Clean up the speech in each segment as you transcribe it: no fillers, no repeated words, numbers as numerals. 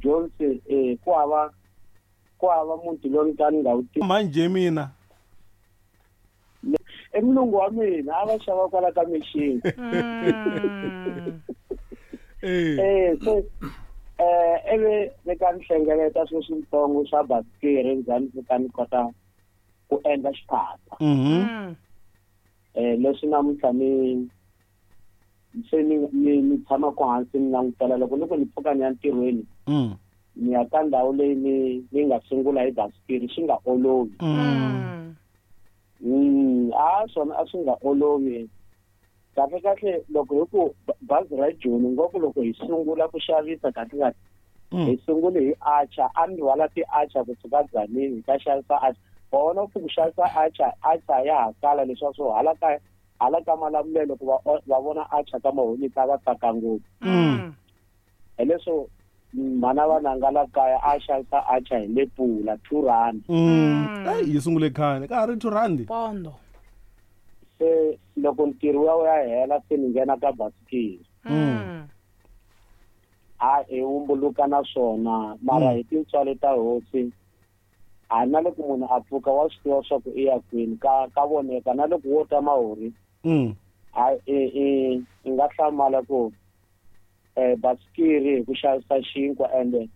Jones ku hava muti lowu ni ka ni nga wu tivi. Manje mina. I mulungu wa mina, a va xava kwala ka mixini. Se ivi ni ka ni hlengeleta swilo switsongo swa basikiri, ndzhaku ni fika ni kota ku endla xiphaza. Leswi namuntlha ni se ni tshamaka hansi ni langutela, loko ni ku ni pfuka ni ya ntirhweni, ni ya ka ndhawu leyi ni nga sungula hi basikiri, swi nga olovi. A swona a swi nga olovi kahle kahle. Loko hi ku bazi ra Joni ngopfu, loko hi sungula ku xavisa kahle kahle, hi sungule hi atchar. A ni rhwala ti-atchar kusuka Dzanini hi ta xavisa atchar. Wa vona ku xavisa atchar, atchar ya ha kala leswaku swo hala ka Malamulele, ku va vona atchar ka Mahonisi a va tsaka ngopfu. Hi leswo mhana vananga la kaya a xavisa atchar hi lepula R2. Eyi, yi sungule khale ka ha ri R2. Pondo. Se loko ntirho wa ya hela, se ni nghena ka basikiri. A hi wumbuluka na swona, mara hi tintswalo ta hosi, a na loko munhu a pfuka wa swi tiva swa ku i ya kwini, ka voneka. Na loko wo ta Mahori, a i nga hlamala ku basikiri hi ku xavisa xinkwa, ende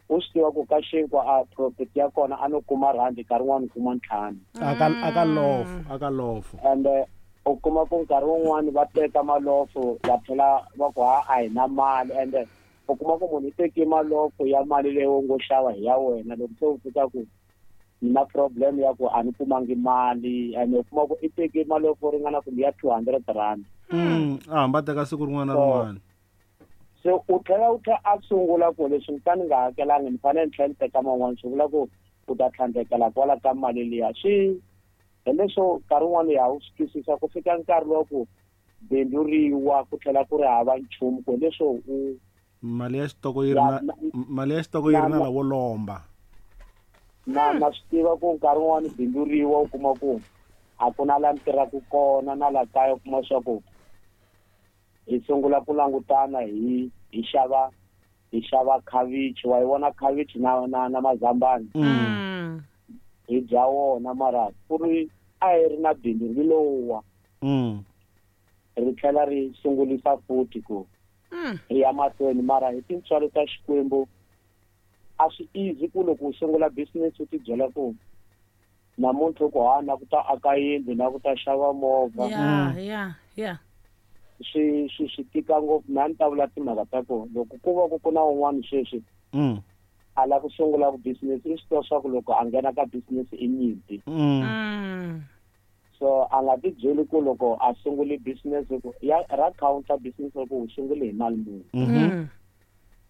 u swi tiva ku ka xinkwa a profit ya kona a no kuma rhandi, nkarhi wun'wani u kuma 5. Aka lofu, aka lofu. Ende u kuma ku nkarhi wun'wani va teka malofo, va tlhela va ku ha a hi na mali, ende u kuma ku munhu i teke malofo ya mali leyi u ngo xava hi ya wena. Loko se u fika ku ni na problem ya ku a ni kumangi mali, ende u kuma ku i teke malofo ringana kumbe ya R200. A hamba teka siku rin'wana na rin'wana. Se u tlhela a sungula ku leswi ni ta ni nga hakelangi, ni fanele ni tlhela ni teka man'wana, swi vula ku u ta tlhandlekela kwala ka mali liya. Swi hi leswo nkarhi wun'wani ya wu swi twisisa ku fika nkarhi wa ku bindzu riwa, ku tlhela ku ri hava nchumu, ku hi leswo u Mali ya xitoko yi ri na mali ya xitoko yi ri na lavo lomba. Na swi tiva ku nkarhi wun'wani bindzu riwa, u kuma ku a ku na la ni tirhaka kona, na la kaya u kuma swa ku hi sungula ku langutana, hi xava khavichi, wa yi vona khavichi na mazambani, hi dya wona, mara ku ri a hi ri na bindzu ri lowa, ri tlhela ri sungulisa futhi ku ri ya mahlweni. Mara hi tintswalo ta Xikwembu, a swi easy ku loko u sungula business u ti byela ku namuntlha ku ha na ku ta aka yindlu, na ku ta xava movha. Swi tika ngopfu. Mina ni ta vula timhaka ta ku loko ku va ku na un'wana sweswi a lava ku sungula ku business, i swi tiva swa ku loko a nghena ka business i nyimpi. So a nga ti byeli ku loko a sungule business ku ya ra counter business ku u sungule hi mali muni,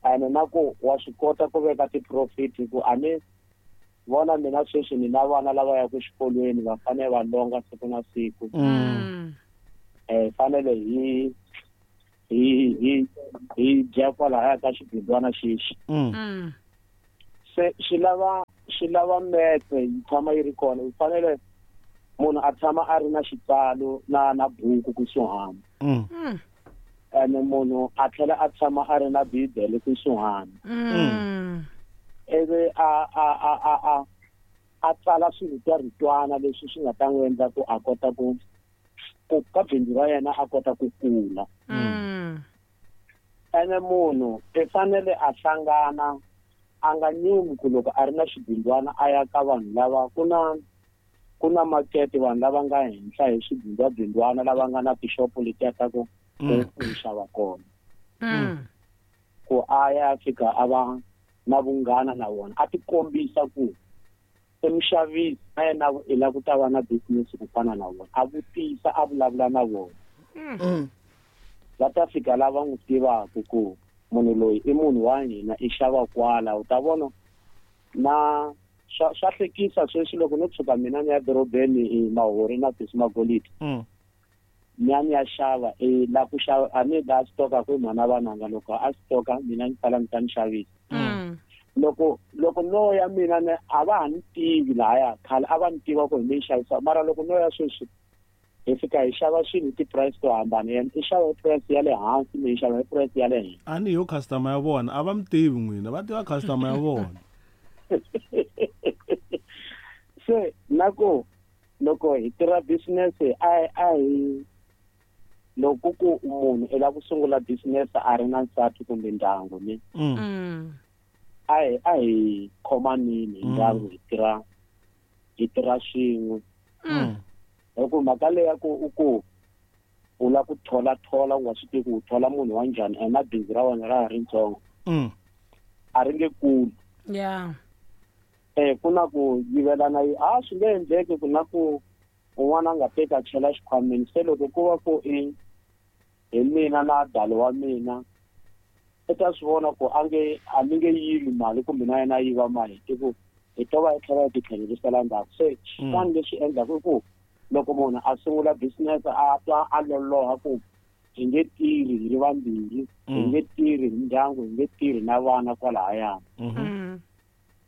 ene na ku wa swi kota ku veka ti-profit, ku a ni vona mina sweswi ni na vana lava yaka exikolweni, va fanele va longa siku na siku. Fanele hi dya kwalaya ka xibindzwana xexi. Se swi lava metse yi tshama yi ri kona. Yi fanele munhu a tshama a ri na xitsalo na buku kusuhani, ene munhu a tlhela a tshama a ri na bibele kusuhani, ivi a tsala swiritwaritwana leswi swi nga ta n'wi endla ku a kota ku ka bindzu ra yena a kota ku kula. Ene munhu i fanele a hlangana, a nga nyumi ku loko a ri na xibindzwana a ya ka vanhu lava ku na makete, vanhu lava nga henhla hi swibindzwabindzwana, lava nga na tixopo letiya ta ku xava kona, ku a ya fika a va na vunghana na vona, a ti kombisa ku i muxavisi na yena i lava ku ta va na business ku fana na vona, a vutisa, a vulavula na vona. Va ta fika lava n'wi tivaka ku munhu loyi i munhu wa hina, i xava kwala. U ta vona na swa hlekisa sweswi loko no tshuka mina ni ya dorobeni i Mahori na Sesi Magolidi, ni ya xava, i la ku xava, a ni la stoka ku mhana vananga loko a stoka, mina ni sala ni ta ni xavisa. Loko no ya mina ni a va ha ni tivi lahaya, khale a va ni tiva ku hi mi xavisa, mara loko no ya sweswi Hi fika hi xava swilo hi ti-price to hambana, yena i xava hi price ya le hansi, mina hi xava hi price ya le henhla. A ni yo customer ya vona, a va mi tivi n'wina, va tiva customer ya vona. Se na ku loko hi tirha business a hi loko ku munhu i lava ku sungula business a ri na nsati kumbe ndyangu ni a hi khomanini hi ndyangu hi tirha swin'we. Hi ku mhaka leyi ya ku u ku u lava ku thola u nga swi tivi ku u thola munhu wa njhani, ene na bindzu ra wena ra ha ri ntsongo, a ri nge kuli. Ku na ku yivelana, a swi nge endleki ku na ku un'wana a nga teka chela xikhwameni. Se loko ku va ku i hi mina na dalo wa mina, i ta swi vona ku a mi nge yivi mali kumbe na yena a yiva mali, hi ku hi to va hi tlhela hi ti tlhelerisela ndzhaku. Se xin'wana leswi endlaka i ku loko munhu a sungula business a twa a loloha ku hi nge tirhi hi ri vambirhi, hi nge tirhi hi ndyangu, hi nge tirhi na vana kwalahayana.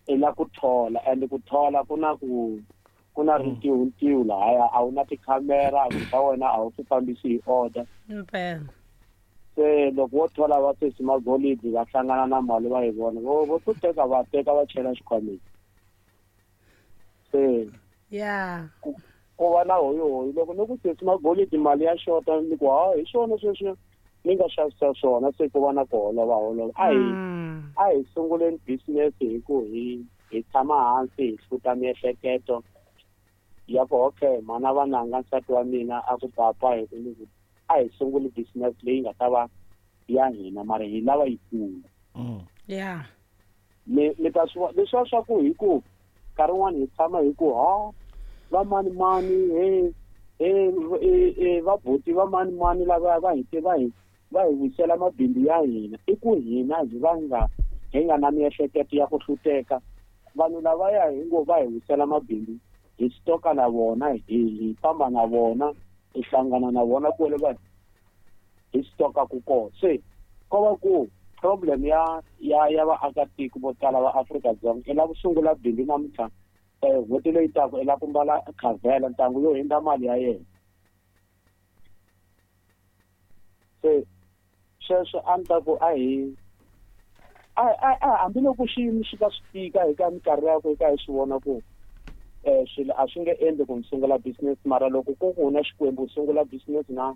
I la ku thola, and ku thola ku na ku na rintiho lahaya, a wu na tikhamera, swa wena a wu swi fambisi hi order. Se loko wo thola va sesi magolidi va hlangana na mali va yi vona, vo to teka va teka va chela xikhwameni. Se ku va na hoyihoyi loko ni ku sesi magolidi mali ya xota, ni ku ha hi swona sweswi ni nga xavisa swona, se ku va na ku holova. A hi sunguleni business hi ku hi tshama hansi hi hluta miehleketo ya ku okay, mana vananga nsati wa mina a ku papa hi ku ni ku a hi sunguli business leyi nga ta va ya hina, mara hi lava yikulu. Ni ta swi leswiya swa ku hi ku nkarhi wun'wani hi tshama hi ku ha va mani mani he va buti va mani mani lava va hi va hi wisela mabindzu ya hina, i ku hina hi va nga hi nga na miehleketo ya ku hluteka. Vanhu lavaya hi ngo va hi wisela mabindzu, hi stoka na vona, hi famba na vona, hi hlangana na vona kwale va hi stoka ku kona. Se ko va ku problem ya vaakatiko vo tala va Afrika-Dzonga i lava ku sungula bindzu namuntlha, n'hweti leyi taka i lava ku mbala khavhela ntangu yo hundza mali ya yena. Se sweswo a ni ta ku a hi hambiloko xiyimo xi ka swi tika hi ka minkarhi ya ku hi ka hi swi vona ku swilo a swi nge endli ku ni sungula business, mara loko ku ku na Xikwembu u sungula business na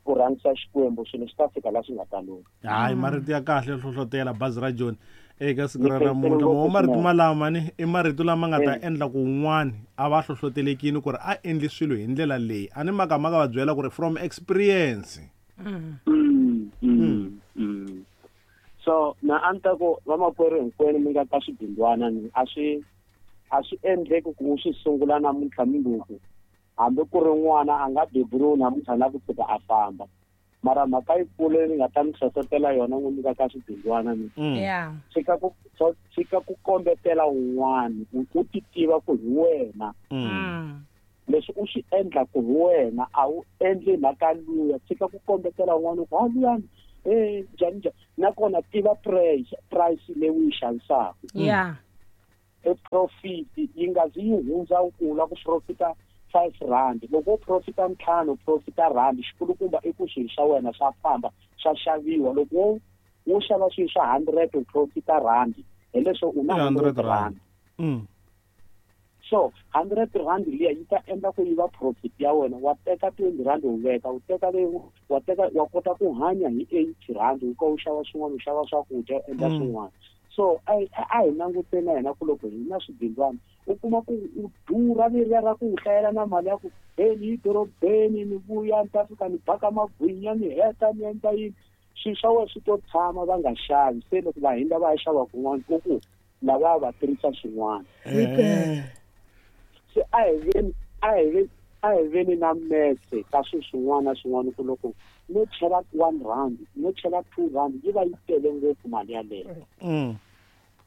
ku rhangisa Xikwembu, swilo swi ta fika laha swi nga ta lunga. Hayi, marito ya kahle hlohlotela bazi ra Joni eka siku ra namuntlha. Mo marito malama ni i marito lama nga ta endla ku un'wana a va hlohlotelekini ku ri a endli swilo hi ndlela leyi. A ni makamaka va byela ku ri from experience. So na a ni ta ku vamakwerhu hinkwenu mi nga ka swibindwana ni a swi endleki ku u swi sungula namuntlha mundzuku, hambi ku ri n'wana a nga beburiwi namuntlha na ku tshuka a famba. Mara mhaka yikulu leyi ni nga ta mi hlohlotela yona n'wi nyika ka swibindwana ni tshika ku kombetela un'wana, u ti tiva ku hi wena. Leswi u swi endlaku hi wena, a wu endli mhaka luya. Tshika ku kombetela un'wana ku ha luyani njhani njhani. Nakona tiva price leyi u yi xavisaka. E profit yi nga zi yi hundza u kula ku profita 5 rand. Loko u profita 5, u profita rand, xikulukumba i ku swilo swa wena swa famba, swa xaviwa. Loko wo xava swilo swa 100, u profita rand, hi leswo u na 100 rand. So 100 rand liya yi ta endla ku yi va profit ya wena. Wa teka 20 rand u veka, u teka leyi wa teka, wa kota ku hanya hi 80 rand, u ka u xava swin'wana, u xava swakudya, u endla swin'wana. So a hi languteni na hina ku loko hi na swibindzwana, u kuma ku u durha leriya ra ku u hlayela na mali ya ku he ni yi dorobeni ni vuya ni ta fika ni baka magwinya ni heta ni endla yini, swilo swa wena swi to tshama va nga xavi. Se loko va hindza va ya xava kun'wana, u ku lava va tirhisa swin'wana. Se a hi veni na metse ka swilo swin'wana na swin'wana, ku loko no chela 1 rand, no chela 2 rand, yi va yi tele ngopfu mali yaleyo.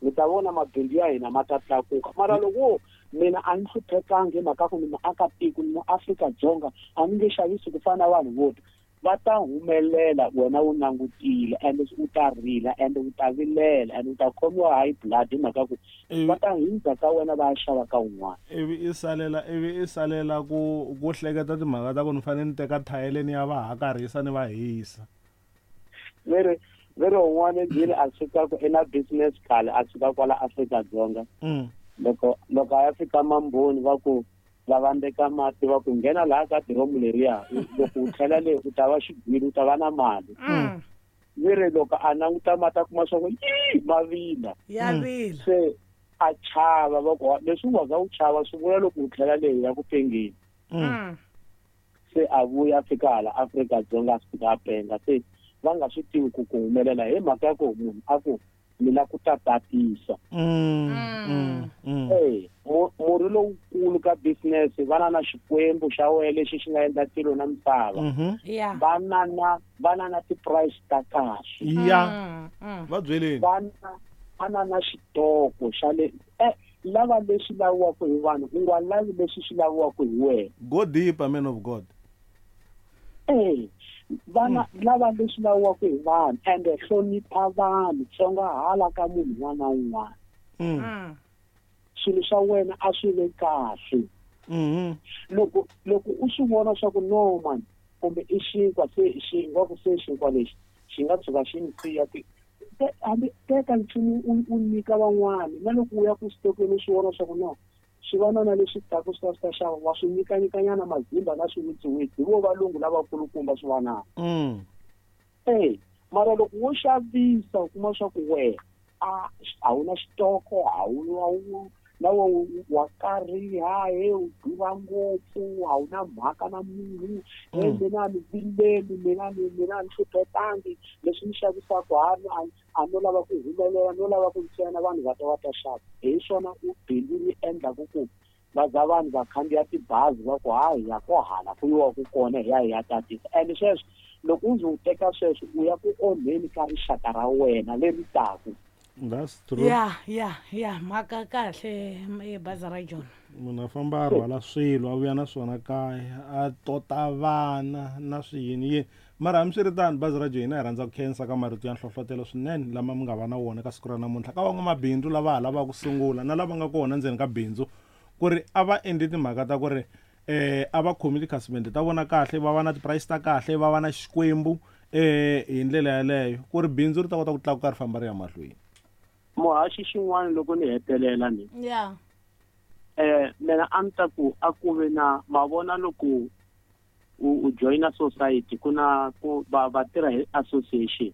Mi ta vona mabindzu ya hina ma ta tlakuka. Mara loko mina a ni hluphekangi hi mhaka ku ni muakatiko, ni muAfrika-Dzonga, a ni nge xavisi ku fana na vanhu vo ta. Va ta humelela wena u langutile, and u ta rila, and u ta vilela, and u ta khomiwa high blood hi mhaka ku va ta hindza ka wena va ya xava ka un'wana. Ivi i salela, ivi i salela ku ku hleketa timhaka ta ku ni fanele ni teka thayele ni ya va hakarhisa ni va hisa. Ve ri ve ri un'wana ndlwini a suka ku i na business khale a suka kwala Afrika-Dzonga. Loko a ya fika Mamboni va ku va vandeka mati va ku nghena laha ka diromu leriya, loko u tlhela le u ta va xigwili, u ta va na mali. Ve ri loko a languta mati a kuma swa ku yi ma vila. Ya vila. Se a chava va ku leswi u nga za u chava swi vula loko u tlhela le ya ku pengeni. Se a vuya a fika hala Afrika-Dzonga a fika a penga, se va nga swi tivi ku ku humelela hi mhaka ya ku munhu a ku mina ku ta tatisa. Murhi lowukulu ka business va na na xikwembu xa wena lexi xi nga endla tilo na misava. Va na na ti-price ta kahle. Va byeleni. Va na na xitoko xa le lava leswi laviwaka hi vanhu, u nga lavi leswi swi laviwaka hi wena. Go deeper, man of God. Vana lava leswi laviwaka hi vanhu, and hlonipha vanhu, tsongahala ka munhu un'wana na un'wana. Swilo swa wena a swi ve kahle. Loko u swi vona swa ku no man, kumbe i xinkwa se xinkwa ku se xinkwa lexi xi nga tshuka xi ni siya ti hambi teka nchumu u nyika van'wani, na loko u ya ku xitokweni u swi vona swa ku no swi va na leswi taka swi ta swi ta xava, wa swi nyikanyikanyana mazimba na swiwitsi-witsi, hi vo valungu lavakulukumba swi vanaka. Mara loko wo xavisa u kuma swa ku wena a wu na xitoko, a wu na wa kariha, he u durha ngopfu, a wu na mhaka na munhu, he mina ni vileli, mina ni hluphetangi, leswi ni xavisaka a no lava ku humelela, no lava ku ntsena vanhu va ta va ta xava. Hi swona u bindzu ri endlaku ku va za vanhu va khandziya tibazi va ku hayi ya ko hala ku yiwa ku kona hi ya hi ya tatisa. And sweswo loko u ze u teka sweswo u ya ku onheni ka rixaka ra wena leri taku. That's true. Ya mhaka kahle bazi ra John. Munhu a famba a rhwala swilo a vuya na swona kaya, a tota vana na swiyini yini. Mara hambiswiritano bazi ra John hina hi rhandza ku khensa ka marito ya nhlohlotelo swinene lama mi nga va na wona ka siku ra namuntlha ka van'wamabindzu lava ha lavaka ku sungula na lava nga kona ndzeni ka bindzu, ku ri a va endli timhaka ta ku ri a va khomi tikhasimende ta vona kahle, va va na ti-price ta kahle, va va na xikwembu hi ndlela yaleyo ku ri bindzu ri ta kota ku tlakuka ri famba ri ya mahlweni. Muhaxi xin'wana loko ni hetelela ni. Mina a ni ta ku a ku ve na mavona loko u joina society ku na ku va tirha hi association.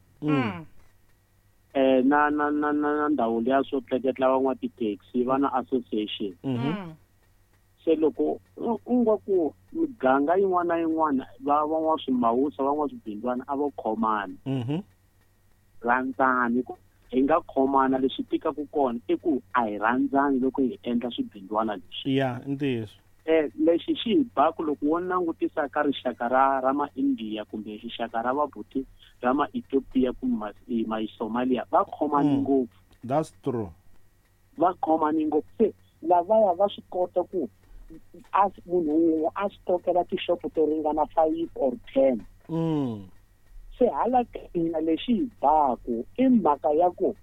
Na na na na ndhawu liya swo tleketla van'wa ti-taxi va na association. Se loko u nga ku miganga yin'wana na yin'wana va van'wa swimawusa van'wa swibindzwana a vo khomana. Rhandzani ku hi nga khomana, leswi tikaka kona i ku a hi rhandzani loko hi endla swibindzwana leswi. Ya, ntiyiso. Lexi xi hi baku loko wo langutisa ka rixaka ra ma-India kumbe rixaka ra vabuti ra ma-Ethiopia kumbe ma-Somalia, va khomani ngopfu. That's true. Va khomani ngopfu. Se lavaya va swi kota ku munhu wun'we a swi tokela tixopo to ringana 5 or 10. Se hala hina lexi hi baku i mhaka ya ku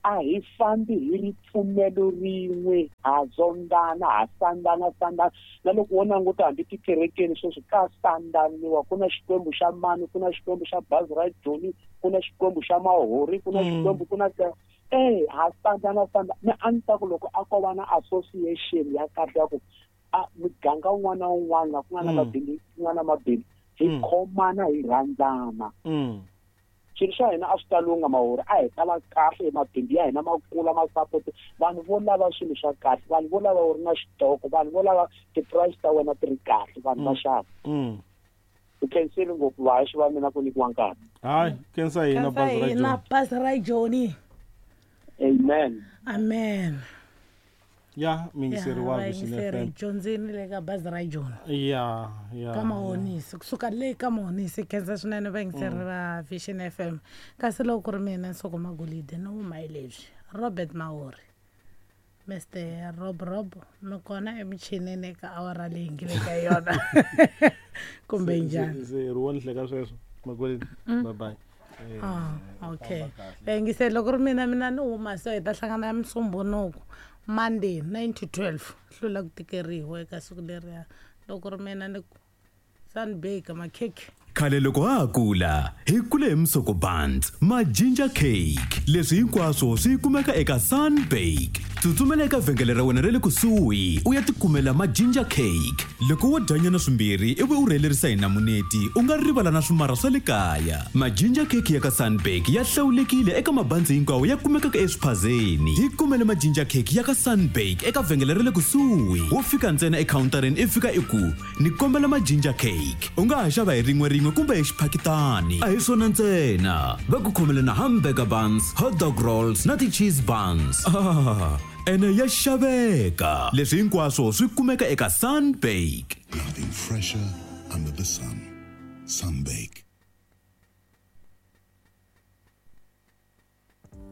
a hi fambi hi ripfumelo rin'we, ha zondana, ha sandana sandana. Na loko wo languta hambi tikerekeni sweswi ka sandaniwa, ku na xikwembu xa mani, ku na xikwembu xa bazi ra Joni, ku na xikwembu xa Mahori, ku na xikwembu ku na ha sandana sandana. Ni a ni ta ku loko a ko va na association ya kahle ya ku a muganga wun'wana na wun'wana ku nga na mabindzu, ku nga na mabindzu, hi khomana hi rhandzana. Swilo swa hina a swi ta lungha Mahori, a hi ta va kahle, mabindzu ya hina ma kula, ma support vanhu vo lava swilo swa kahle, vanhu vo lava u ri na xitoko, vanhu vo lava ti-price ta wena ti ri kahle, vanhu va xava. U khensile ngopfu vahaxi va mina ku nyikiwa nkarhi. Hayi, khensa hina bazi ra Joni. Bazi ra Joni. Amen. Amen. Ya, mingiseri wa Vision FM. Dyondzini le ka bazi ra Joni. Ya, ya. Ka Mahonisi, kusuka le ka Mahonisi, khensa swinene vayingiseri va Vision FM. Kasi loko ku ri mina Nsoko Magolide no huma hi leswi. Robert Mahori. Mr Rob Rob mi kona emichinini eka awara leyi ngi le ka yona kumbe njhani? Se ri wo ni hleka sweswo makweleni. Bye bye. Ah, okay. Vayingiseli, loko ri mina mina ni huma so hi ta hlangana ya Musumbunuku, Monday, 9 to 12. Hlula ku tikeriwa eka siku leriya. Loko ri mina ni ku sunbake makhekhe. Khale loko ha ha kula, hi kule hi musoko buns, ma ginger cake. Leswi hinkwaswo swi kumeka eka Sunbake. Tsutsumela eka vhengele ra wena ra le kusuhi u ya tikumela ma ginger cake. Loko wo dyanyana swimbirhi ivi u rhelerisa hi namuneti, u nga rivala na swimarha swa le kaya. Ma ginger cake ya ka Sunbake ya hlawulekile eka mabanzi hinkwawo ya kumekaka eswiphazeni. Tikumele ma ginger cake ya ka Sunbake eka vhengele ra le kusuhi. Wo fika ntsena ekhawuntareni i fika i ku, Ni kombela ma ginger cake. U nga ha xava hi rin'we rin'we kumbe hi xiphakitani. A hi swona ntsena, va ku khomele na hamburger buns, hot dog rolls na ti-cheese buns. Ah, ene ya xaveka! Leswi hinkwaswo swi kumeka eka Sunbake. Nothing fresher under the sun. Sunbake.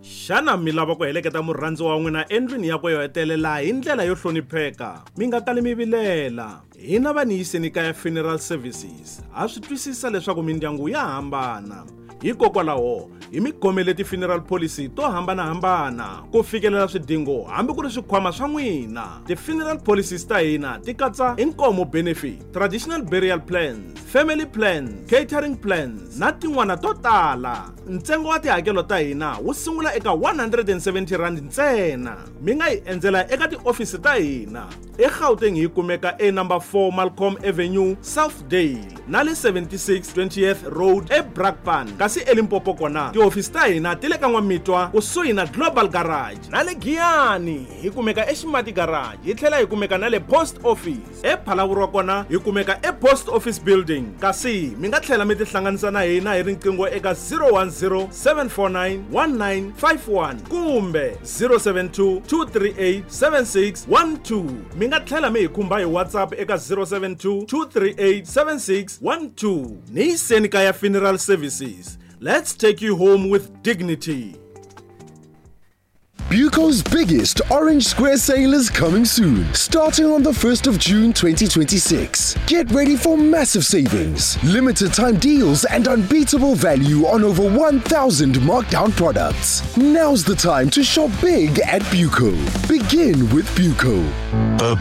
Xana mi lava ku heleketa murhandziwa wa n'wina endlwini yakwe yo hetelela hi ndlela yo hlonipheka? Mi nga kali mi vilela. Hina va Niyiseni Kaya Funeral Services ha swi twisisa leswaku mindyangu ya hambana. Hikokwalaho, hi mi khomele ti-funeral policy to hambana-hambana ku fikelela swidingo hambi ku ri swikhwama swa n'wina. Ti-funeral policies ta hina ti katsa inkomo benefit, traditional burial plans, family plans, catering plans na tin'wana to tala. Ntsengo wa tihakelo ta hina wu sungula eka R170 ntsena. Mi nga hi endzela eka tiofisi ta hina eGauteng, hi kumeka e number 4 Malcolm Avenue, Southdale, na le 76 20th Road eBrakpan, kasi eLimpopo kona tihofisi ta hina ti le ka N'wamitwa kusuhi na Global Garage, na le Giyani hi kumeka eXimati Garage, hi tlhela hi kumeka na le Post Office. EPhalaborwa kona hi kumeka ePost Office Building, kasi mi nga tlhela mi tihlanganisa na hina hi riqingho eka 010 749 1951 kumbe 072 238 7612. Mi nga tlhela mi hi khumba hi WhatsApp eka 072 238 7612. Ni Yiseni Kaya Funeral Services, let's take you home with dignity. Buco's biggest Orange Square sale is coming soon, starting on the 1st of June 2026. Get ready for massive savings, limited time deals, and unbeatable value on over 1,000 markdown products. Now's the time to shop big at Buco. Begin with Buco. The